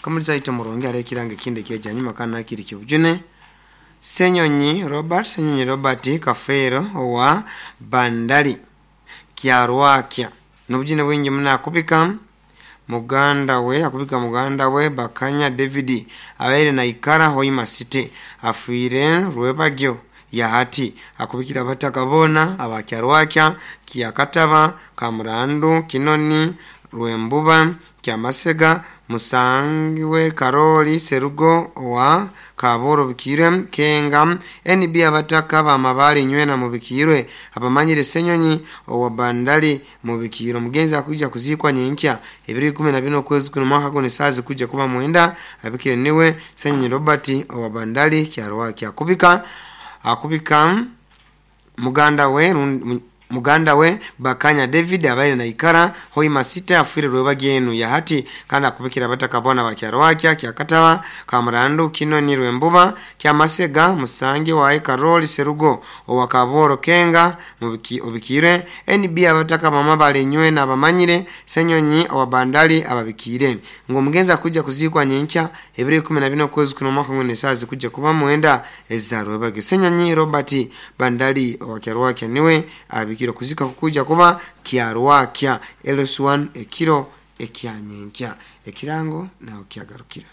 Kamulisa ite murungi hariho ekirango ekindi ekyeja nyuma kandi nakiri kyobujune. Senyonyi Robert, Senyonyi Robert Kafeero owa Bandali Kyarwakya nobujune bwingi muno akubika muganda we, akubika muganda we Bakanya David abaire naikara Hoima City afiire Rwebagyo yahati. Akubikira abataka boona aba Kyarwakya, Kyakataba, Kamurandu, Kinoni, Rwembuba, Kyamasega, Musangiwe Karoli Serugo owa Kaboro Bikirwe Kenga NB abataka bamabale nywena mubikirwe abamanyire Senyonyi owa Bandali mubikirwe. Omugenzi akuija kuziikwa nyenkya ebiro 14 okwezi kuno mwaka guno esaaha zikuija kuba 9. Abikire niwe Senyonyi Robert owa Bandali Kyarwakya. Akubika akubika muganda we muganda we Bakanya David abaire naikara Hoima City afiire Rwebagyo enu yahati. Kandi akubikira abataka boona ba Kyarwakya, Kyakataba, Kamurandu, Kinoni, Rwembuba, Kyamasega, Musangi waye Karoli Serugo owa Kaboro Kenga obikirwe NB abataka bamabale nywena abamanyire Senyonyi owa Bandali ababikire ngu omugenzi akuija kuziikwa nyenkya ebiro 14 okwezi kuno omwaka guno esaaha zikuija kuba 9 eza Rwebagyo. Senyonyi Robert Bandali owa Kyarwakya niwe abikire. Okuzika kukuija kuba Kyarwakya LS1 ekiro ekyanyenkya. Ekirango naho kyagarukira.